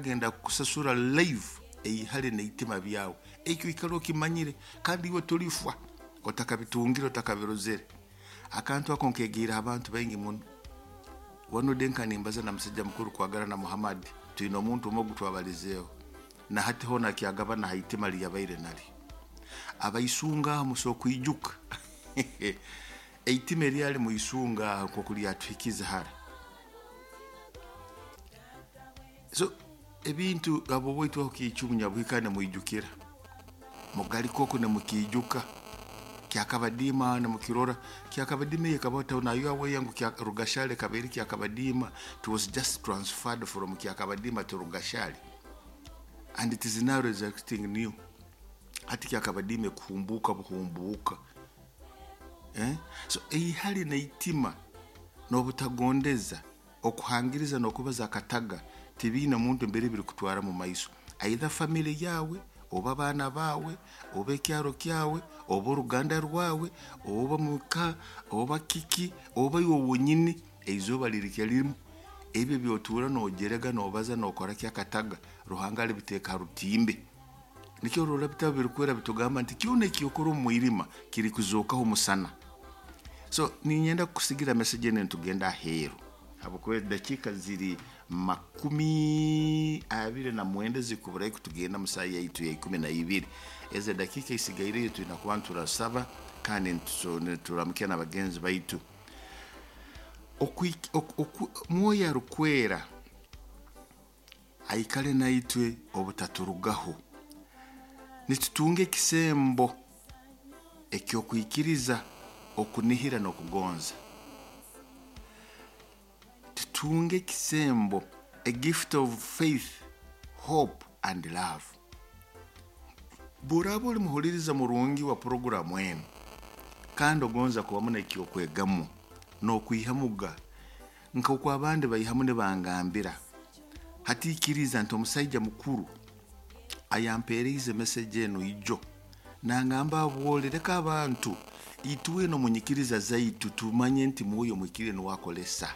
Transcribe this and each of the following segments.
Agenda kukusasura live eihali neitima byawe. Ekyo ikara okimanyire, kandi iwe tolifwa otakabitungire, otakabirozere. Akantu ako nkegiire abantu baingi muno. Wano denka nimbaza na musajja mukuru Kwagara na Muhammad, twine omuntu omwe ogu twabalizeeho, na hati hoona akyagabana ha itima liyabaire nalyo. Abaisunga aho musobora kwijuka eitima eryali muisunga aho nk'oku lyatuhikize hara. So ebintu abo baitu aho kiicumu nyabuhika nimwijukira, mugalika oku nimukiijuka, kyakabadiima nimukirora, kyakabadiima eyo ekabaho town are you aware ngu Rugashali ekaba eri kyakabadiima, it was just transferred from kyakabadiima to Rugashali and it is now resurrecting new. Hati kyakabadiima ekuhumbuuka buhumbuuka. Eh? So eihali n'eitima n'obutagondeza, okuhangiriza n'okubaza akataga tibiine muntu mbere birikutwara mu maiso. Either family yawe, oba abaana baawe, oba ekyaro kyawe, oba oruganda rwawe, oba muka, oba kiki, oba iwe wonyini, eizooba lirikya limu. Ebyo ebyotuura nogerega, nobaza, nokora ki akataga, Ruhanga alibiteeka ha rutimbe. Nikyo orora ebitabo birikwera bitugamba nti kyona ekyokora omu mwirima kirikuzookaho omusana. So ninyenda kukusigira message enu nitugenda aheeru, habwokuba edakiika ziri 29 zikuburayo kutugenda mu saaha yaitu ya 12. Ezo edakiika esigaireyo twina kuba niturasaba kandi nituramukya na bagenzi baitu. Mwoyo Arukwera aikale naitwe obutaturugaho. Nitutunga ekisembo eky'okwikiriza, okunihira n'okugonza. Tutunge ekisembo, a gift of faith, hope and love. Bw'oraaba oli muhuliriza murungi wa puroguramu enu kandi ogonza kubamu n'eky'okwegamu n'okwihamuga nk'oku abandi baihamu nibangambira, hati ikiriza nti omusaija mukuru ayampeereize message enu ijo nangamba abwole leka abantu itwena omu nyikiriza zaitu tumanye nti Mwoyo Muhikiriire nuwe akolesa.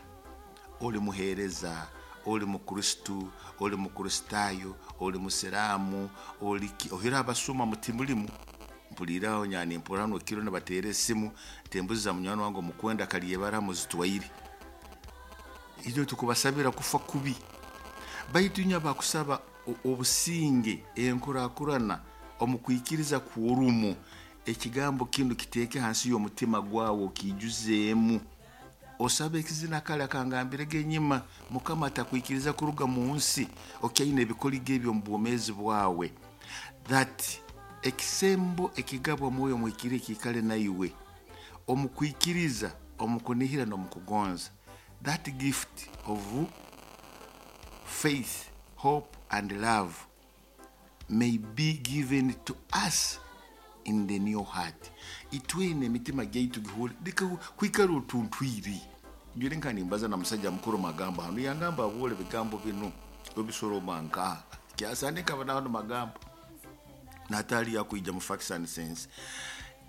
Oli muheereza, oli Mukristo, oli Mukristaayo, oli Musiraamu, oli ki, ohire abasuma mutimulimu. Mpuliire aho nyanimpurra hanu ekiro nibateera esimu, nti embuzi za munywani wange omukwenda Kalyebara muzitwaire. Itwe tukubasabira kufa kubi. Baitu inywe abakusaba obusinge, enkurakurana omu kwikiriza kw'orumu, ekigambo kinu kiteeke hansi y'omutima gwawe okiijuzeemu. Osabe ekizina kale akangambirege enyima, Mukama atakwikiriza kuruga mu nsi okyaine ebikoligo ebyo omu bwomeezi bwawe. That ekisembo ekigabwa Mwoyo Muhikiriire kiikale naiwe omu kwikiriza, omu kunihira n'omu kugonza. That gift of faith, hope and love may be given to us in the new heart. Itwena emitima gyaitu gihuure leka kwikara otuntwire. Njwire nka nimbaza na musajja mukuru magambo hanu, yangamba abuure ebigambo binu obisoroma nkaha. Kyasande nkaba naho magambo natali yakwija mu facts and sense.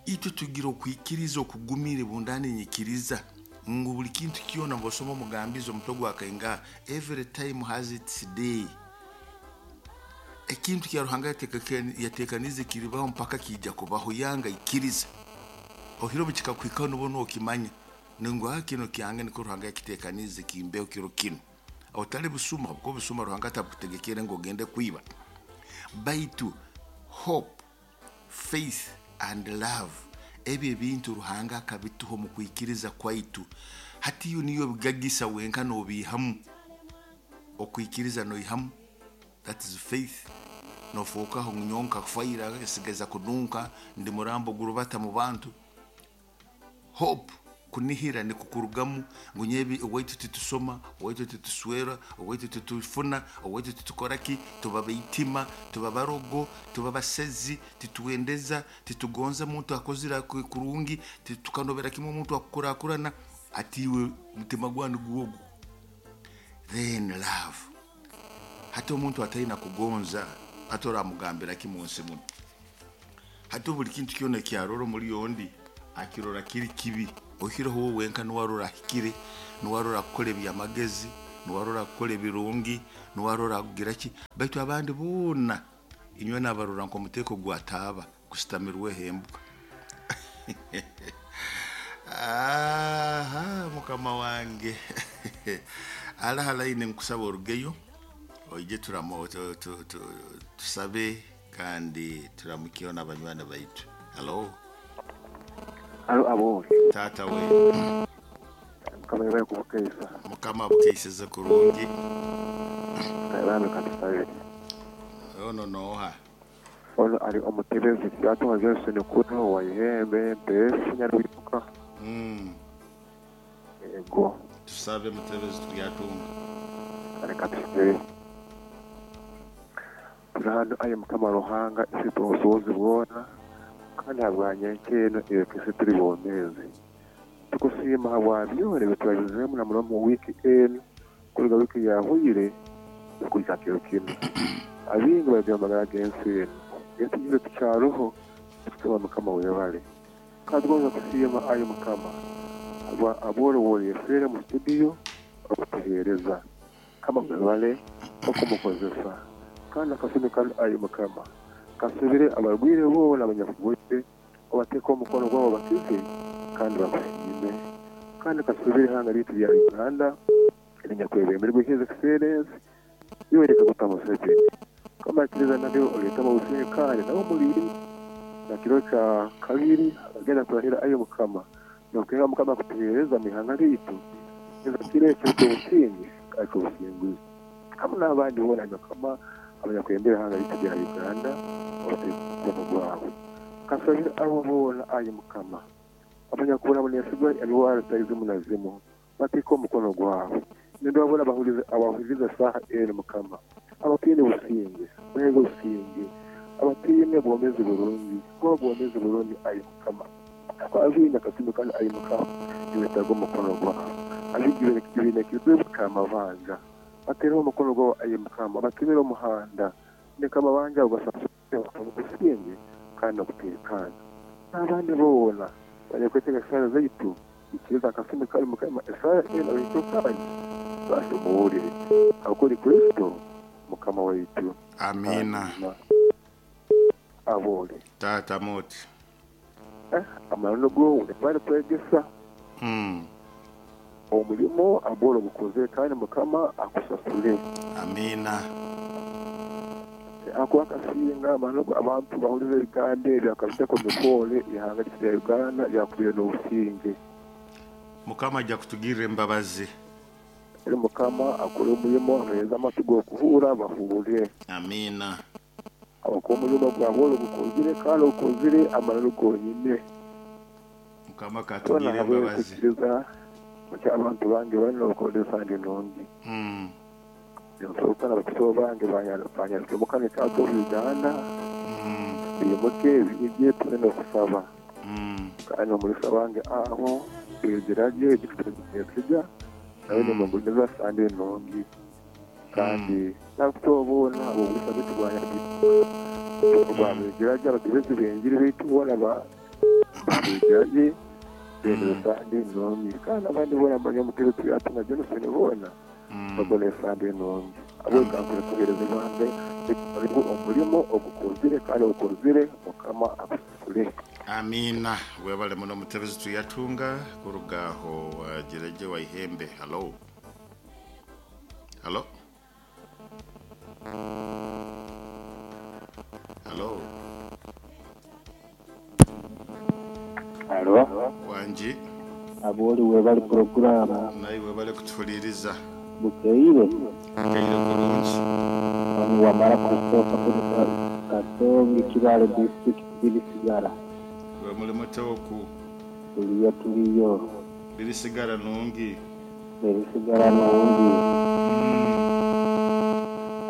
Itwe tugira okwikiriza okugumire bundani nyikiriza ngu buli kintu kyona bwosoma omugambizi omutwe gwa kaingaha, every time has its day. Ekintu kya Ruhanga yatekanize kiribaho mpaka kiija kubaho, yanga ikiriza. Ohire obu kikakuhikaho nibwo nokimanya ngu kino kyange nikwo Ruhanga yakitekanize kimbeho kiro kinu. Otali busuma, kuko busuma Ruhanga atabukutegekere ngu ogende kwiba. Baitu hope, faith and love, ebyo ebintu Ruhanga akabituha omu kwikiriza kwaitu. Hati iyo niyo bigagisa wenka nobiihamu. Okwikiriza noihamu, that is faith. Nofookaho ngu nyowe nkafaira nsigaza kununka, ndi murambo gurubata mu bantu. Hope, kunihira nikukurugamu ngu nyebi owaitu titusoma, owaitu tituswera, owaitu titufuna, owaitu titukora ki, tuba baitima, tuba barogo, tuba basezi, titwendeza, titugonza muntu akozire kurungi, tukanobera kimwe omuntu akukurakurana, ati iwe mutima gwanyu gwogu. Then love. Hati omuntu ataina kugonza, hati oramugambira ki munsi muno? Hati buli kintu kyona ekyarora omuli ondi akirora kiri kibi. Oihireho wowe wenka niwe arora ahikire, niwe arora akukora ebyamagezi, Nuwe arora kukora ebirungi, nuwe arora kugira ki, baitu abandi boona inywe nabarora nk'omuteeko gwataaba gusitamirweho embwa. Aha, mukama wange alaha line, nkusaba orugeyo oije turamo tusabe kandi turamukyeho n'abanywani baitu. Halo. Halo abori. Taata we. Mukama yebale kubukeisa. Mukama abukeiseze kurungi. Bambi katusabe. Ono nooha? Ono ali omutebezi Kyatunga Johnson Kuno wa Ihembe Mpesi Nyaruibuka. Ego. Tusabe mutebezi Turyatunga. Kale katusabe. Turi hano aye Mukama Ruhanga ifite obusobozi bwona kandi habwanya nk'eno eyo turi bomezi. Tukusiima habwa byona ebitwabizemu na muno mu wiki eno kuruga wiki yahwire kuhika kiro kinu. Abingi bagira amagara g'ensi eno. Ensi tukyaroho tukusaba Mukama webale. Kandi tugonza kusiima aye Mukama aboro woyefere mu studio okutuheereza. Kama webale okumukozesa. Kandi akasumi kanu aye Mukama kasubire abarwire boona abanyakugote obateeka omukono gwabo bakize kandi bakusiime. Kandi kasubire ihanga lyaitu lya Uganda erinyakwebemberwe His Excellency Yoweri Kaguta Museveni. Kama ikiriza nabyo oleetamu obusinge kandi nabo mulinde na kiro kya kabiri agenda kurahira aye Mukama nokuhenga Mukama kutuheereza mu ihanga lyaitu eza kiro ekyo ky'obusinge kandi ky'obusinguzi. Hamu n'abandi boona Mukama abanyakwembera ihanga lyaitu lya Uganda obateeka omukono gwawe. Kasabire abo boona aye Mukama abanyakubonabonesibwa endwara zitali zimu na zimu bateeka omukono gwawe. Nindaba boona abahuliriza saaha enu Mukama abataine businge baheege obusinge, abataine bwomezi burungi kuba bwomezi burungi aye Mukama. Abaine akasumi kanu aye Mukama nibetaaga omukono gwawe. Abingi baine ekizibu ky'amabanja bateereho omukono gwawe aye Mukama batemere omuhanda leka amabanja ago gasasurwe obusinge kandi n'okuteekaana. N'abandi boona banyakwetaaga esaara zaitu ikiriza akasumi kanu Mukama esaara enu abahikyo kandi basoboole habw'okuli Kristo Mukama waitu. Amiina. Amina. Abole. Taata moti. Amananu go webale kwegesa. Omulimo abole ogukozere kandi Mukama akusasule. Amiina. Ako akasinga amano abantu bahuliza ebigambo ebyo akabiteka omu mikoore ihanga lyaitu lya Uganda lyakubire n'obusinge. Mukama ajja kutugirra embabazi. Eri Mukama akore omulimo abaheereze amatu g'okuhuura bahuure. Amiina. Habwokuba omulimo gwabole ogukozire kandi ogukozire amananu gonyine. Mukama Twena katugirre embabazi. habwekukiriza mukya abantu bange bano okozesa ndi nungi. Nsoboka n'abakiso bange banyaruke mukama ekyato Uganda. Bimuke bijye tuli n'okusaba. Kandi omulisa wange aho begirage ekija nawe nimuguniza sande nungi. Kandi n'abakiso boona obulisa baitu bwabegirage abatebezi b'enjiri baitu boona babegirage bendera sande nungi. Kandi abandi boona abanyamutebe Turyatunga Johnson boona bagona esande nungi. Abwekankure kuheereza Uganda omulimo ogukozire kandi ogukozire Mukama akusasule. Amiina. Webale muno mutebezi Turyatunga kuruga aho Wajereje wa Ihembe. Halo. Halo. Halo. Halo. Wanji. Aboli webale programu. Naye webale kutuhuliriza. Bukeire. Bukeire kurungi. Onu wamara Christopher kuruga Katongi Kibale district Birisigara. We muri mutoku. Tuliyo tuliyo. Birisigara nungi. Birisigara nungi.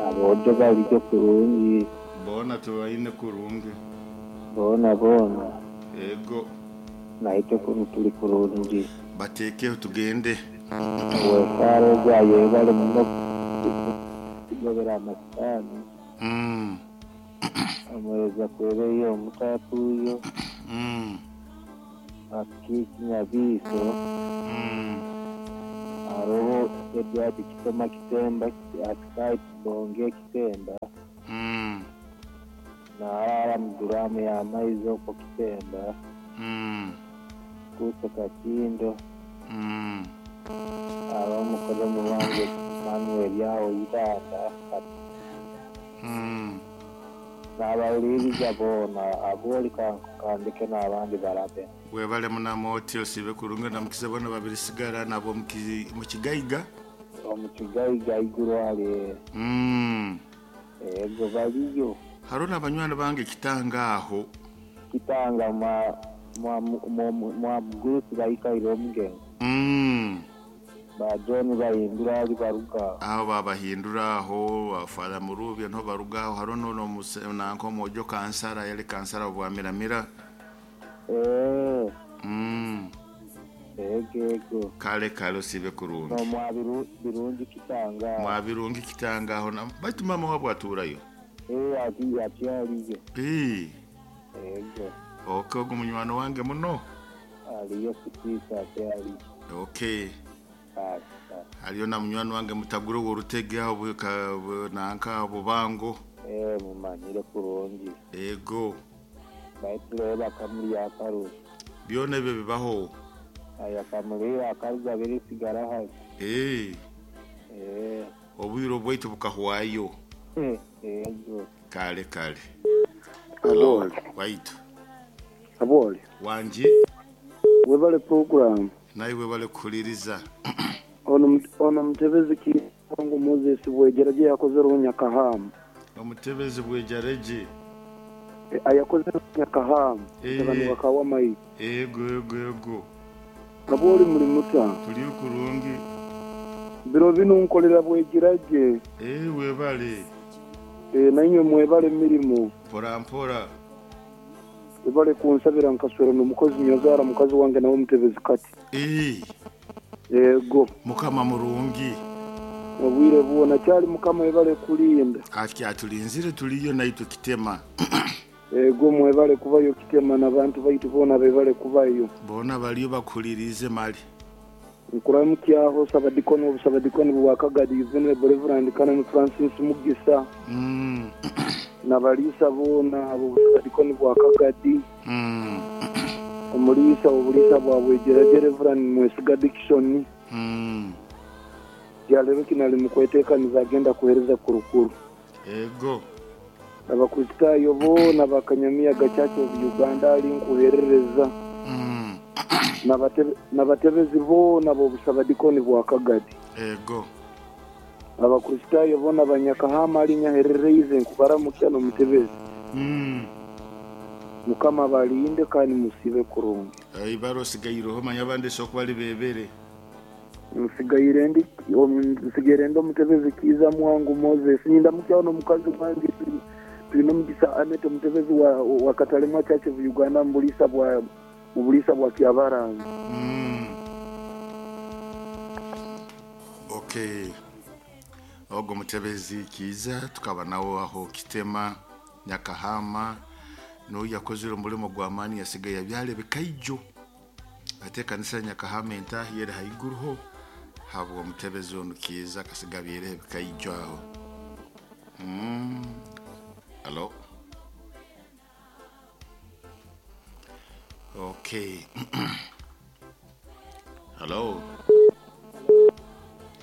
Abojo balijo kurungi. Bona tubaine kurungi. Bona bona. Ego. Naitwe kunu tuli kurungi. Batekeho tugende. Wesaro gwayo webale muno kugobera amasitaani. Omwereza kwereyo omutatuuyo. Akiki Nyabiiso. Haroho Edward Kitoma Kitemba Asikai Kibonge Kitemba. Naarara muduramu y'amaizi okwo Kitemba. Kuso Kakindo. Haroho mukodomi wange Manuel aho Ibanda. N'abawuliriza boona abooli kandeke n'abandi barabe. Webale munamoti osibe kurungi namukiza bona babiri sigara nabo mukigaiga. Omukigaiga iguru ali. Ego baliyo. Haruna abanywani bange kitanga aho. Kitanga mwa mugurusi baikaire omugenzi. Ba John bahindura ali baruga. Aho babahindura aho afara murubya nto baruga aho harono no nanko mojo kansara yali kansara obwamiramira. Ego. Kale kale osibe kurungi. No mwa birungi kitanga. Mwa birungi kitanga aho na baitu mama wabwo aturayo. Ati aliyo. Ego. Okay, ogu munywani wange muno. Aliyo kutisa ati aliyo. Okay. Aliyo na munywani wange mutaguro w'orutege aho nanka bubango. Mumanyire kurungi. Ego. Baitu bakamuli akaru. Byona ebyo bibaho. Aya kamuli akaruga biri sigara hali. Obwiro bwaitu bukahwayo. Ego. Kale kale. Hello. Waitu. Aboli. Wanji. Webale program. Naye webale kukuliriza. Ono mutebezi Kiwango Moses Bwejeraje yakoze Nyakahamu. Omutebezi Bwejeraje. Ayakoze Nyakahamu. Abantu bakawa mai. Ego ego ego. Aboli muri muta. Tuli kurungi. Biro bino nkolera Bwejeraje. Webale. Nainywe mwebale mirimo. Mpora mpora. Webale kunsabira nkaswera n'omukozi nyozara mukazi wange nawe mutebezi kati. Ego. Mukama murungi. Obwire bwona kyali mukama webale kulinda. Kati atulinzire tuliyo naitwe kitema. Ego mwebale kubayo kitema n'abantu baitu bona bebale kubayo. Bona baliyo bakulirize mali. Nkuramukyaho sabadikono obusabadikono bwakagadi Venerable Reverend Canon Francis Mugisa. Nabalisa bona obusabadikono bwakagadi. Omulisa obulisa bwa Bwejeraje Reverend Mwesiga Dickson. Yalero kinali mukwetekaniza agenda kuhereza kurukuru. Ego. Abakristaayo bona bakanyamiya gachacho of Uganda ali nkuherereza. Nabatebezi bona b'obusabadikoni bwa Kagadi. Ego. Abakristaayo bona banyakahama ali nyaherereize nkubaramukya n'omutebezi. Mukama balinde kandi musibe kurungi. Ibaro sigairoho manya abandi soko bali bebere. Nsigaire ndi omutebezi Kiza Mwangu Moses. Nindamukia ono mukazi wange tulina omugisa Anete omutebezi wa Katalemwa Church of Uganda mu bulisa bwa Kyabarangi. Okay. Ogo mutebezi Kiza tukaba nawo aho Kitema Nyakahama no yakozire omulimo gwa mani yasigaye yabyale bikaijo. Ate kanisa Nyakahama entahi yeri haiguruho habwo mutebezi ono Kiza kasigabyere bikaijo aho. Hello. Okay. Hello.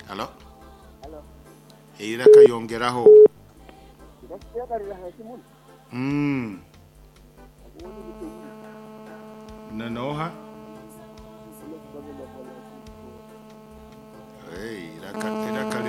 Hello. Hello. Eira kayongeraho. Nanoha.